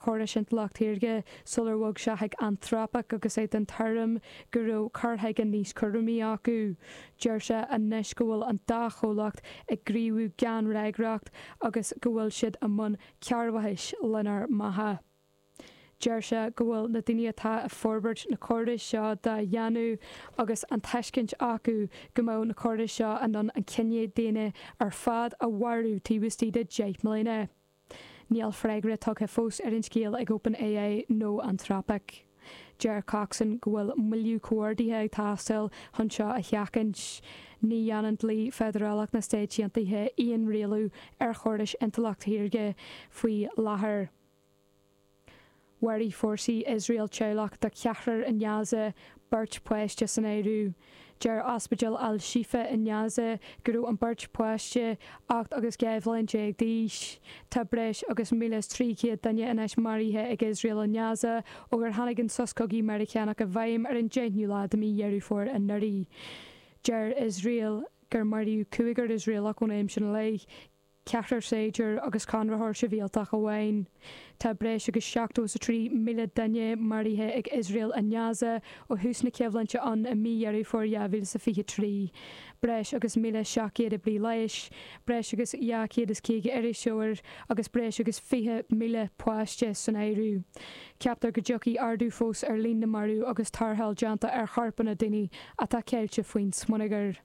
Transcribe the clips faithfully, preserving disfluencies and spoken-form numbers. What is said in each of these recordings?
chórais intleacht shaorga sular bhog sé chuig Anthropic agus é den tuairim go raibh cur chuige níos cúramaí acu. Deir sé anois go bhfuil an dá chomhlacht ag gníomhú gan fhreagracht agus go bhfuil siad i mbun cearrbhachais lenár mbeatha. Deir sé go bhfuil na daoine atá ag forbairt na córais seo dá dhéanamh agus an tuiscint acu go mbeadh na córais seo in ann an cine daonna ar fad a mharú taobh istigh de deich mbliana. Níl freagra tugtha fós ar an scéal ag OpenAI nó Anthropic. Deir Coxon go bhfuil moilliú comhordaithe ag teastáil chun seo a sheachaint. Ní dhéanann dlí feidearálach na Stáit Aontaithe aon rialú ar chórais intleacht shaorga faoi láthair. Mharaigh fórsaí Iosrael teaghlach de cheathrar i nGaza, beirt pháiste san áireamh. Deir Ospidéal Al-Shifa i nGaza go raibh an beirt pháiste ocht agus dhá bhliain déag d'aois. Tá breis agus míle is trí chéad duine anois maraithe ag Iosrael i nGaza ó gur tháinig an sos cogaidh Meiriceánach i bhfeidhm ar an deichiú lá de mhí Dheireadh Fómhair anuraidh. Deir Iosrael gur maraíodh cúigear Iosraelach ón am sin i leith. ceathrar saighdiúir agus conraitheoir sibhialtach amháin. Tá breis agus seachtó is a trí míle duine maraithe ag Iosrael i nGaza ó thús na coimhlinte ann i mí Dheireadh Fómhair dhá mhíle is a fiche trí. Breis agus míle seacht gcéad oibrí leighis, breis agus dhá chéad is caoga iriseoir agus breis agus fiche míle páiste san áireamh. Ceaptar go dtiocfaidh ardú fós ar líon na marbh agus tarrtháil déanta ar chorpanna daoine atá ceilte faoin smionagar.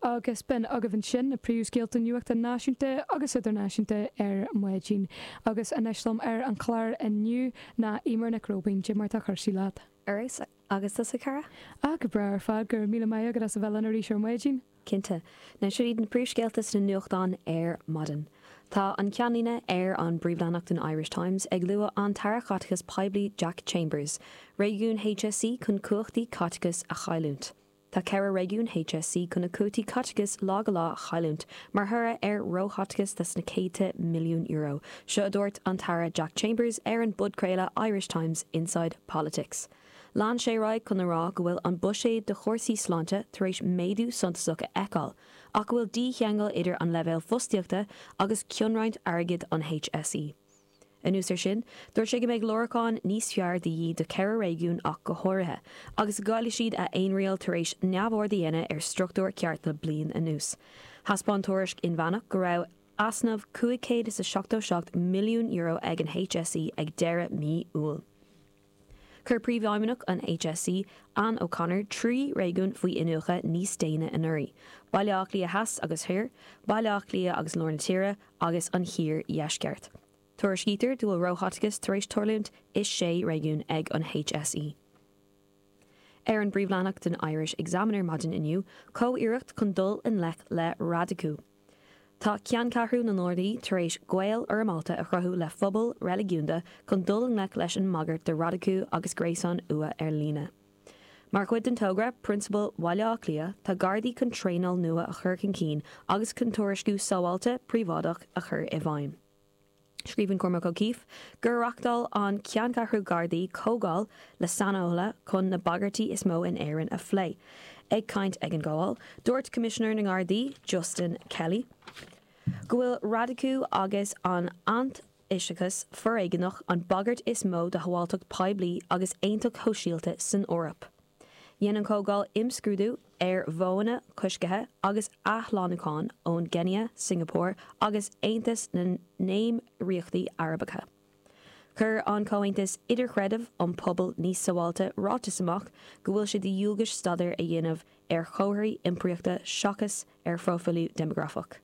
Agus b'in agaibh ansin na príomhscéalta nuachta náisiúnta agus idirnáisiúnta ar maidin. Agus anois liom ar an chlár inniu ná Eimear Nic Róibín. Cad é mar tá cúrsaí leat? Ar fheabhas, agus tusa, a chara? Ah, go breá ar fad, go raibh míle maith agat as a bheith linn arís ar maidin. Cinnte. Now seo iad na príomhscéalta sna nuachtáin ar maidin. Tá an ceannlíne ar an bpríomhleathanach den Irish Times ag lua an tAire Caiteachais Poiblí Jack Chambers, Réigiúin H S C chun cumhachtaí caiteachais a chailliúint. Tá ceithre réigiún H S C chun a gcuótaí caiteachais lá go lá a chailliúint mar thoradh ar róchaiteachas de sna céadta milliún euro, seo a dúirt an tAire Jack Chambers ar an bpodchraoladh Irish Times Inside Politics. Lean sé ar aghaidh chun a rá go bhfuil an buiséad do chúrsaí sláinte tar éis méadú suntasach a fheiceáil, ach go bhfuil dícheangal idir an leibhéal fostaíochta agus cionroinnt airgid an H S E. Anuas air sin, dúirt sé go mbeidh láracháin níos fearr de dhíth do cheithre réigiún ach go háirithe, agus go gcaillfidh siad a fhéinriail tar éis neamhaird a dhéanamh ar struchtúr ceart le bliain anuas. Thaispeáin tuairisc inmheánach go raibh easnamh cúig chéad is a seachtó seacht milliún euro ag an H S E ag deireadh mí Iúil. Chuir Príomhfheidhmeannach an H S E, Anne O'Connor, trí réigiún faoi iniúchadh níos déine anuraidh, Baile Átha Cliath Theas agus Thoir, Baile Átha Cliath agus Lár na Tíre agus an Thiar Dheisceart. Tuairiscítear go bhfuil róchaiteachas tar éis tarlúint i sé réigiún ag an H S E. Ar an bpríomhleathanach den Irish Examiner maidin inniu, comhiarracht chun dul i ngleic le radacú. Tá ceanncheathrú na nGardaí tar éis gaol foirmeálta a chruthú le phobal reiligiúnda chun dul i ngleic leis an mbagairt de radacú agus gréasáin fhuath ar líne. Mar chuid den togra, Prionsabail Bhaile Átha Cliath, tá Gardaí chun traenáil nua a chur chun cinn agus chun tuairisciú sábháilte príobháideach a chur i bhfeidhm. Scríobhann Cormac O'Keeffe gur reáchtáil an ceanncheathrú Gardaí comhdháil le saineolaithe chun na bagairtí is mó in Éirinn a phlé. Ag caint ag an gcomhdháil, dúirt Coimisinéir na nGardaí, Justin Kelly, go bhfuil radacú agus an t-aintoiseachas foréigeanach an bagairt is mó do shábháilteacht poiblí agus aontacht shóisialta san Eoraip. Dhein an chomhdháil imscrúdú ar mhodhanna coiscthe agus athshlánúcháin ón gCéinia, Singapore agus Aontas na nÉimíríochtaí Arabacha. Chuir an Comhaontas Idirchreidimh um Pobal Níos Sábháilte ráiteas amach go bhfuil sé de dhualgas staidéar a dhéanamh ar chomharthaí iompraíochta seachas ar phróifiliú déimeagrafach.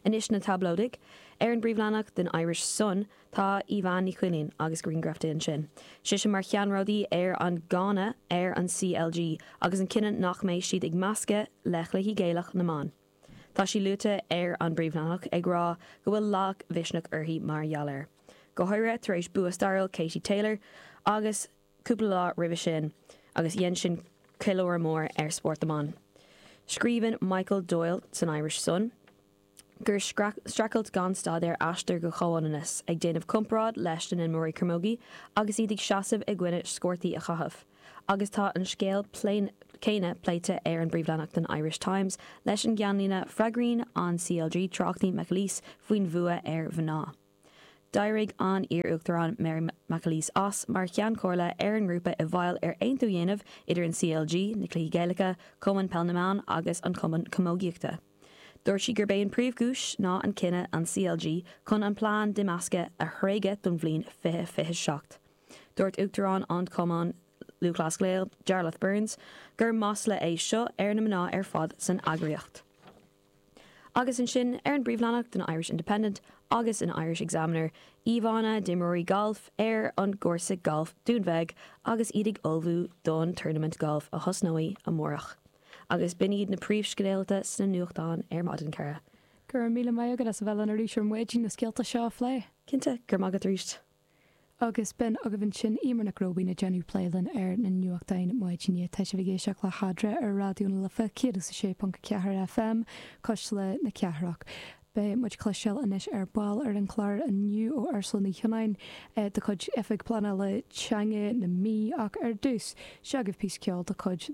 Anois na táblóidigh. Ar an bpríomhleathanach den Irish Sun tá Evanne Ní Chuilín agus grianghraf di ansin. Sise mar cheannródaí ar an gcáineadh ar an C L G agus an cinneadh nach mbeidh siad ag meascadh le cluichí Gaelach na mban. Tá sí luaite ar an bpríomhleathanach ag rá go bhfuil lagmhisneach uirthi mar gheall air. Go háirithe tar éis bua stairiúil Katie Taylor agus cúpla lá roimhe sin agus dhein sin ceiliúradh mór ar spórt na mban. Scríobhann Michael Doyle san Irish Sun gur streachailt gan stad ar aistear go comhionannas, ag déanamh comparáid leis na himreoirí camogie agus iad ag seasamh i gcoinne sciortaí a chaitheamh. Agus tá an scéal céanna pléite ar an bpríomhleathanach den Irish Times leis an gceannlíne freagraíonn an C L G tráchtaí McAleese faoin bhfuath ar mhná. D'éirigh an iar-uachtarán Mary McAleese as mar cheann comhairle ar an ngrúpa i bhfeighil ar aontú a dhéanamh idir an CLG, na Cluichí Gaelacha, Cumann Peil na mBan agus an Cumann Camógaíochta. Dúirt sí gurb é an príomhchúis ná an cinneadh an CLG chun an plean d'imeascadh a thréigean don bhliain fiche fiche seacht. Dúirt Uachtarán an Cumann Lúthchleas Gael Jarlath Burns gur masla é seo ar na mná ar fad san eagraíocht. Agus ansin ar an bpríomhleathanach den Irish Independent agus an Irish Examiner, íomhánna d'imreoirí galf ar an gcúrsa galf Dún Bheag agus iad ag ullmhú don tournament golf a thosnóidh amárach. Agus b'in iad na príomhscéalta sna nuachtáin ar maidin cara. Go raibh míle maith agat as a bheith linn arís ar maidin na scéalta seo a phlé. Cinnte gur maith arís. Agus b'in agaibh ansin Eimear Nic Róibín ag déanamh plé linn ar na nuachtáin maidine tá sibh ag éisteacht le hEadra ar Raidió na Life céad is a sé ponc ceathair FM Cuisle na Cathrach. Beidh muid cloisteáil anois ar ball ar an chlár inniu ó Ursula Ní Chionnáin de chuid Oifig Pleanála Teanga na Mí ach ar dtús seo agaibh píosa ceoil de chuid